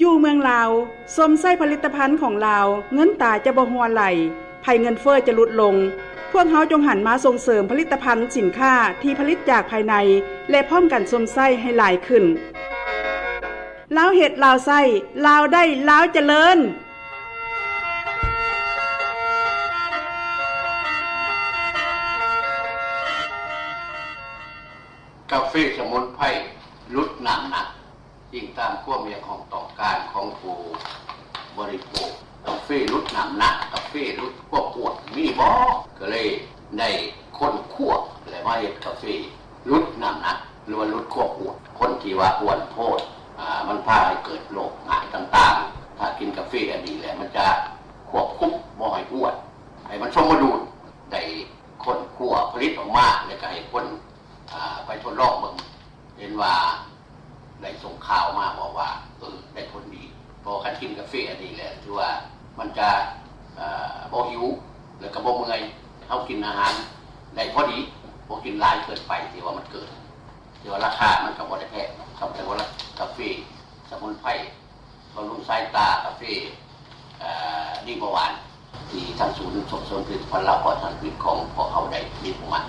ຢູ່ເມືອງລາວ ຊົມໃຊ້ຜະລິດຕະພັນຂອງລາວ ເງິນຕາຈະບໍ່ຮົ່ວໄຫຼ, ໄພເງິນເຟີ້ຈະຫຼຸດລົງ. ພວກເຮົາຈົ່ງຫັນມາສົ່ງເສີມຜະລິດຕະພັນສິນຄ້າທີ່ຜະລິດຈາກພາຍໃນ ແລະ ພ້ອມກັນຊົມໃຊ້ໃຫ້ຫຼາຍຂຶ້ນ. ລາວເຮັດ ລາວໃຊ້, ລາວໄດ້ ລາວຈະເລີນ. ກາເຟສະໝຸນໄພຫຼຸດນ້ຳໜັກ, ອີງຕາມຄວາມຮຽກຮ້ອງຕ້ອງການຂອງຜູ້ບໍລິໂພກ. ກາເຟຫຼຸດນ້ຳໜັກ, ກາເຟຫຼຸດຄວາມອ້ວນ ມີບໍ່? ກໍເລີຍໄດ້ຄົ້ນຄວ້າ ແລະ ມາເຮັດກາເຟຫຼຸດນ້ຳໜັກ ຫຼືວ່າຫຼຸດຄວາມອ້ວນ. ຄົນທີ່ວ່າອ້ວນໂພດ ອາ ມັນພາໃຫ້ເກີດໂລກຮ້າຍຕ່າງໆ. ຖ້າກິນກາເຟອັນນີ້ແລ້ວ ມັນຈະຄວບຄຸມບໍ່ໃຫ້ອ້ວນ, ໃຫ້ມັນສົມດຸນ. ໄດ້ຄົ້ນຄວ້າຜະລິດອອກມາ ແລ້ວກໍໃຫ້ຄົນ ອາ ໄປທົດລອງເບິ່ງ, ເຫັນວ່າໄດ້ສົ່ງຂ່າວມາບອກວ່າ ເອີ ໄດ້ຜົນດີ. ເພາະວ່າຄັນກິນກາເຟອັນນີ້ແລ້ວ ຖືວ່າມັນຈະ ເອີ ບໍ່ຫິວ ແລ້ວກໍບໍ່ເມື່ອຍ. ເຮົາກິນອາຫານໄດ້ພໍດີ, ບໍ່ກິນຫຼາຍເກີນໄປ ທີ່ວ່າມັນເກີນ. ແຕ່ວ່າລາຄາມັນກໍບໍ່ໄດ້ແພງເນາະ, ຄຳແຕ່ວ່າກາເຟສະໝຸນໄພ ບຳລຸງສາຍຕາ, ກາເຟ ເອີ ດີເບົາຫວານ ທີ່ທາງສູນສົ່ງເສີມຜະລິດຕະພັນລາວປອດສານພິດຂອງພວກເຮົາໄດ້ມີປະມານ.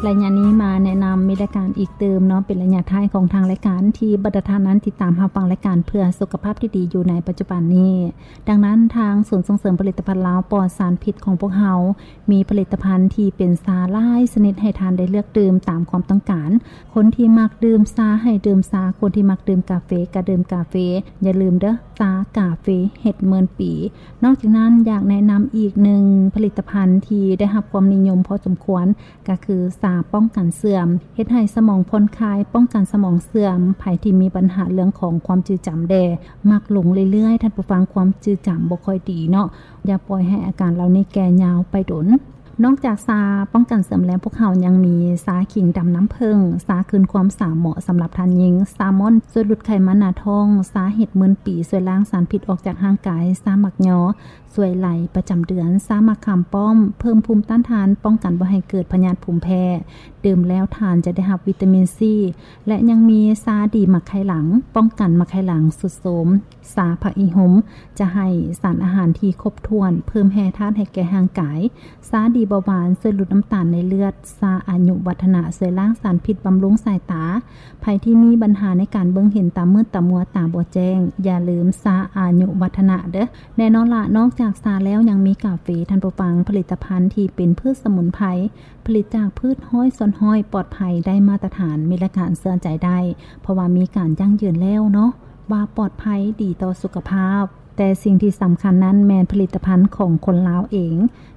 ໄລຍະນີ້ມາແນະນຳມີລາຍການອີກຕື່ມເນາະ, ເປັນໄລຍະທ້າຍຂອງທາງລາຍການ ທີ່ບັນດາທ່ານນັ້ນຕິດຕາມຮັບຟັງລາຍການເພື່ອສຸຂະພາບທີ່ດີຢູ່ໃນປັດຈຸບັນນີ້. ດັ່ງນັ້ນ ທາງສູນສົ່ງເສີມຜະລິດຕະພັນລາວປອດສານພິດຂອງພວກເຮົາ ມີຜະລິດຕະພັນທີ່ເປັນຊາຫຼາຍຊະນິດໃຫ້ທ່ານໄດ້ເລືອກດື່ມຕາມຄວາມຕ້ອງການ. ຄົນທີ່ມັກດື່ມຊາໃຫ້ດື່ມຊາ, ຄົນທີ່ມັກດື່ມກາເຟກໍດື່ມກາເຟ. ຢ່າລືມເດີ້, ຊາກາເຟເຮັດໝື່ນປີ. ນອກຈາກນັ້ນ ຢາກແນະນຳອີກໜຶ່ງຜະລິດຕະພັນທີ່ໄດ້ຮັບຄວາມນິຍົມພໍສົມຄວນ ກໍຄືຊາປ້ອງກັນເສື່ອມ, ເຮັດໃຫ້ສະໝອງຜ່ອນຄາຍ, ປ້ອງກັນສະໝອງເສື່ອມ. ໃຜທີ່ມີບັນຫາເລື່ອງຂອງຄວາມຈື່ຈຳແດ່, ມັກຫຼົງເລື້ອຍໆ, ທ່ານຜູ້ຟັງ, ຄວາມຈື່ຈຳບໍ່ຄ່ອຍດີເນາະ. ຢ່າປ່ອຍໃຫ້ອາການເຫຼົ່ານີ້ແກ່ຍາວໄປດົນ. ນອກຈາກຊາປ້ອງກັນເສື່ອມແລ້ວ, ພວກເຮົາຍັງມີຊາຂີງດຳນ້ຳເຜິ້ງ, ຊາຄືນຄວາມສາວເໝາະສຳລັບທ່ານຍິງ, ຊາມອນຊ່ວຍຫຼຸດໄຂມັນໜ້າທ້ອງ, ຊາເຫັດໝື່ນປີຊ່ວຍລ້າງສານພິດອອກຈາກຮ່າງກາຍ, ຊາໝາກຍໍຊ່ວຍໄຫຼປະຈຳເດືອນ, ຊາໝາກຂາມປ້ອມເພີ່ມພູມຕ້ານທານ, ປ້ອງກັນບໍ່ໃຫ້ເກີດພະຍາດພູມແພ້. ດື່ມແລ້ວທ່ານຈະໄດ້ຮັບວິຕາມິນຊີ ແລະ ຍັງມີຊາດີໝາກໄຂ່ຫຼັງ, ປ້ອງກັນໝາກໄຂ່ຫຼັງຊຸດໂຊມ. ຊາຜັກອີ່ຫຸ່ມຈະໃຫ້ສານອາຫານທີ່ຄົບຖ້ວນ, ເພີ່ມແຮ່ທາດໃຫ້ແກ່ຮ່າງກາຍ. ຊາດີເບົາຫວານຊ່ວຍຫຼຸດນ້ຳຕານໃນເລືອດ, ຊາອາຍຸວັດທະນະຊ່ວຍລ້າງສານພິດ, ບຳລຸງສາຍຕາ. ໃຜທີ່ມີບັນຫາໃນການເບິ່ງເຫັນຕາມືດຕາມົວ, ຕາບໍ່ແຈ້ງ, ຢ່າລືມຊາອາຍຸວັດທະນະເດີ້. ແນ່ນອນລະ, ນອກຈາກຊາແລ້ວຍັງມີກາເຟ, ທ່ານຜູ້ຟັງ, ຜະລິດຕະພັນທີ່ເປັນພືດສະໝຸນໄພ, ຜະລິດຈາກພືດຮ້ອຍສ່ວນຮ້ອຍ, ປອດໄພ, ໄດ້ມາດຕະຖານ, ມີລາຍການເຊື່ອໃຈໄດ້, ເພາະວ່າມີການຢັ້ງຢືນແລ້ວເນາະ ວ່າປອດໄພ, ດີຕໍ່ສຸຂະພາບ. ແຕ່ສິ່ງທີ່ສຳຄັນນັ້ນແມ່ນຜະລິດຕະພັນຂອງຄົນລາວເອງ.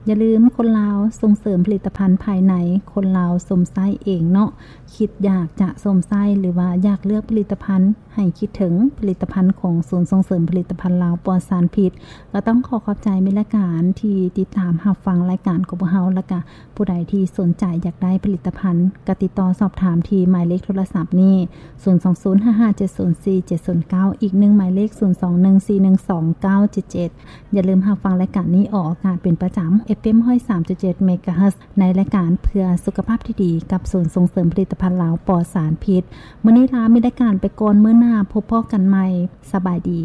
ຢ່າລືມ, ຄົນລາວສົ່ງເສີມຜະລິດຕະພັນພາຍໃນ, ຄົນລາວຊົມໃຊ້ເອງເນາະ. ຄິດຢາກຈະຊົມໃຊ້ ຫຼືວ່າຢາກເລືອກຜະລິດຕະພັນ, ໃຫ້ຄິດເຖິງຜະລິດຕະພັນຂອງສູນສົ່ງເສີມຜະລິດຕະພັນລາວປອດສານພິດ. ກໍຕ້ອງຂໍຂອບໃຈມິດລາຍການທີ່ຕິດຕາມຮັບຟັງລາຍການຂອງພວກເຮົາ, ແລ້ວກະຜູ້ໃດທີ່ສົນໃຈຢາກໄດ້ຜະລິດຕະພັນ ກໍຕິດຕໍ່ສອບຖາມທີ່ໝາຍເລກໂທລະສັບນີ້ ສູນສອງສູນ ຫ້າຫ້າເຈັດສູນສີ່ເຈັດສູນເກົ້າ, ອີກໜຶ່ງໝາຍເລກ ສູນສອງໜຶ່ງສີ່ໜຶ່ງສອງເກົ້າເຈັດເຈັດ. ຢ່າລືມຮັບຟັງລາຍການນີ້ອອກອາກາດເປັນປະຈຳ ເອັຟເອັມຮ້ອຍສາມຈຸດເຈັດເມກາເຮີດ ໃນລາຍການເພື່ອສຸຂະພາບທີ່ດີ ກັບສູນສົ່ງເສີມຜະລິດຕະພັນລາວປອດສານພິດ. ມື້ນີ້ລາມີລາຍການໄປກ່ອນ, ມື້ໜ້າພົບພໍ້ກັນໃໝ່. ສະບາຍດີ.